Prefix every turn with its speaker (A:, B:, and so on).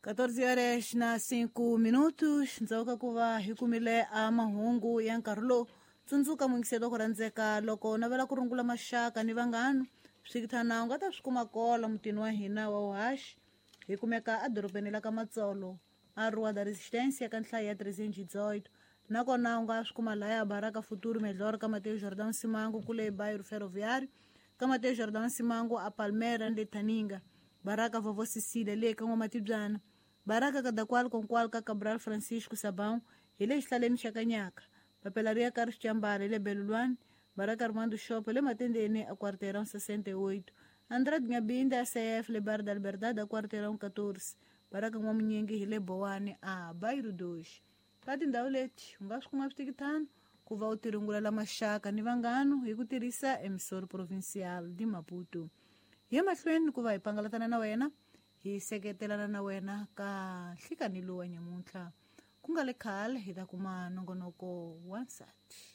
A: 14 horas na 5 minutos ndzhaku ka ku va hi kumile a mahungu ya nkarhi lowu. Tsundzuka muyingiselo ku rhandzeka, loko u navela ku rungula maxaka ni vanghana, swikithana u nga ta swi kuma kola mutini wa hina wa uhaxi. Hi kumeka edorobeni la ka Matsolo, a Rua da Resistência, ka nhlayo ya 318. Nakona u nga swi kuma laya Baraka Futuro Melhor, ka Mateo Jordão Simango, kule Bairro Ferroviário, ka Mateo Jordão Simango, a Palmeiras le Taninga, Baraka Vovó Cecília le ka N'wamatibyana, Baraka Kadakwal Konkwal ka Cabral Francisco Sabão hi le xihlaleni xa Kanyaka, Papela ri ya ka Rixambala le Belulwani, Baraka Armando Shop le Matendeni, a Quarteirão 68, Andrade Ngabinda CF le Bar da Liberdade, a Quarteirão 14, Baraka N'wamunyingi hi le Bowani, a Bairro 2. Ka tindhawu leti u nga swi kuma switikithano ku va u tirungulela maxaka ni vanghano hi ku tirhisa Emissor Provincial de Maputo. Hi mahlweni ku va hi pangalatana na wena, hi seketelana na wena ka nhlikani lowu wa nyamuntlha. Ku nga le khale hi ta kuma nongonoko wa nsati.